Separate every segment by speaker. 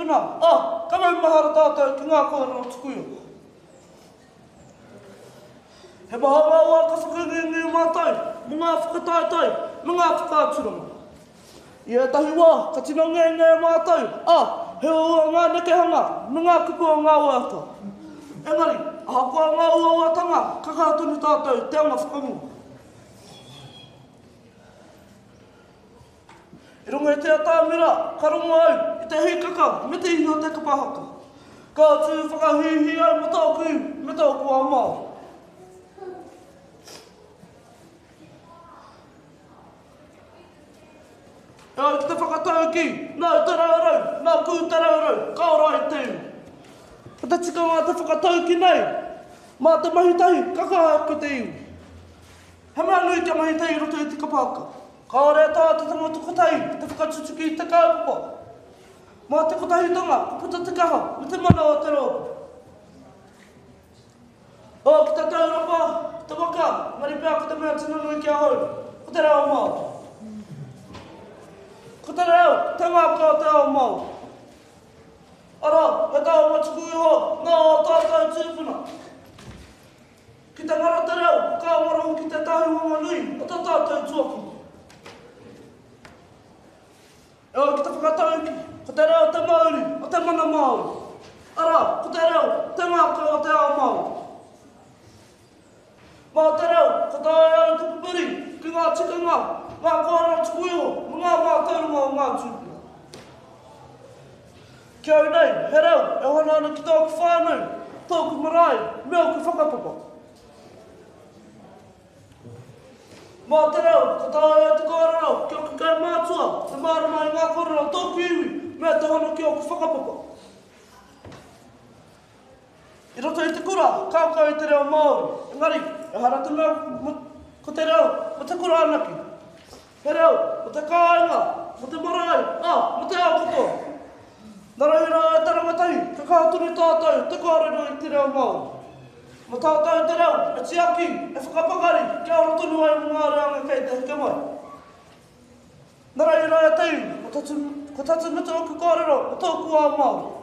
Speaker 1: tūpuna, ā, ka maumahara tātou ki ngā kōrero tuku iho. He maha ngā wā ka whakangungu mātou mō ngā whakataetae me ngā whakaaturanga. I ētahi wā ka tino ngenge mātou, ā, he uaua ngā nekehanga me ngā kupu o ngā waiata. Engari, ahakoa ngā uauatanga, ka kaha tonu tātou te anga whakamua. I runga i te atamira, ka rongo au i te hīkaka me te ihi o te kapa haka. Ka tū whakahīhī au mō tōku iwi me tōku ao Māori. E ai ki te whakataukī, nāu te raurau, nāku te raurau, ka ora ai te iwi. Ko te tikanga o te whakataukī nei, mā te mahi tahi ka kaha ake te iwi. He mea nui kia mahi tahi i roto i te kapa haka. Kāore e taea te tangata kotahi te whakatutuki i te kaupapa. Mā te kotahitanga ka puta te kaha me te mana o te rōpū. Ō ki te taurapa, te waka, engari pea ko te mea tino nui ki ahau, ko te reo Māori. Ko te reo, te ngākau o te ao Māori. Arā, he taonga tuku iho nā ō tātou tūpuna. Ki te ngaro te reo, ka ngaro hoki tētahi whanganui o tō tātou tuakiri. E ai ki te whakataukī, ko te reo te mauri o te mana Māori. Arā, ko te reo te ngākau o te ao Māori. Mā te reo, ka taea au te pupuri ki ngā tikanga, ngā kōrero tuku iho me ngā mātauranga o ngā tūpuna. Ki au nei, he reo e hono ana ki tōku whānau, tōku marae, me ōku whakapapa. Mā te reo, ka taea e te kōrero ki ōku kaumātua, te mārama i ngā kōrero o tōku iwi, me te hono ki ōku whakapapa. I roto i te kura, ka ako i te reo Māori, engari, ehara te mea ko te reo mō te kura anake. He reo mō te kāinga, mō te marae, ā, mō te ao katoa. Nā reira e te rangatahi, ka kaha tonu tātou te kōrero i te reo Māori. Mā tātou te reo e tiaki, e whakapakari, kia ora tonu ai mō ngā reanga kei te heke mai. Nā reira e te iwi, ko Tatumutu ōku kōrero mō tōku ao Māori.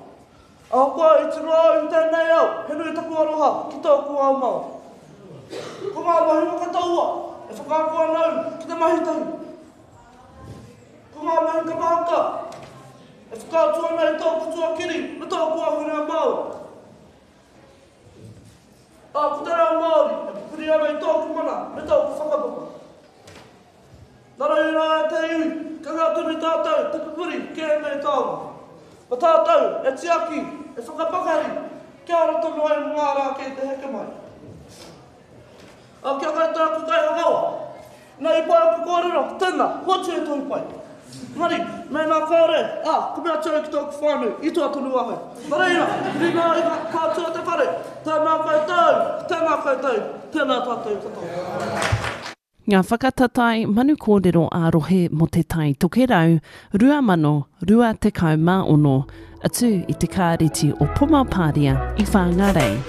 Speaker 1: Ahakoa i tino au i tēnei ao, he nui taku aroha ki tōku ao Māori. Ko ngā mahi whakataua e whakaako ana au ki te mahi tahi. Ko ngā mahi kapa haka e whakaatu ana i tōku tuakiri me tōku ahurea Māori. Ā, ko te reo Māori e pupuri ana i tōku mana me tōku whakapapa. Nā reira e te iwi, kaha tonu tātou te pupuri ki ēnei taonga. Ma tātou e tiaki, e whakapakari, kia ora tonu ai mō ngā rā kei te heke mai. Ā, kia koutou aku kaihakawa, ina i pai aku kōrero, tēnā, hoatu he tohu pai. Engari, mēnā kāore, ā, ka mea atu au ki tōku whānau, i toa tonu ahau. Nā reira, huri ngā ringa, ka atu a te whare, tēnā koutou, tēnā koutou, tēnā tātou katoa.
Speaker 2: Ngā whakatatae manu kōrero ā-rohe mō Te Tai Tokerau 2026, atu i te Kāreti o Pomapāria i Whāngārei.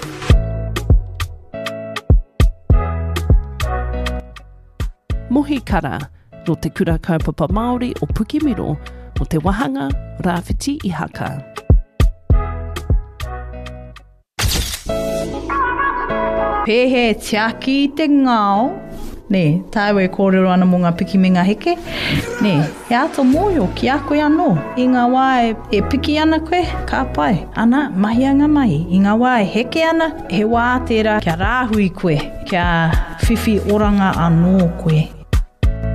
Speaker 2: Mohi Kara, nō Te Kura Kaupapa Māori o Pukemiro, mō te wāhanga Rāwhiti Ihaka.
Speaker 3: Pēhea e tiaki i te ngao, nē, tāu e kōrero ana mō ngā piki me ngā heke, nē, he āta mōhio ki a koe anō. I ngā wā e, e piki ana koe, ka pai, ana, mahia ngā mahi. I ngā wā e heke ana, he wā tērā kia rāhui koe, kia whiwhi oranga anō koe.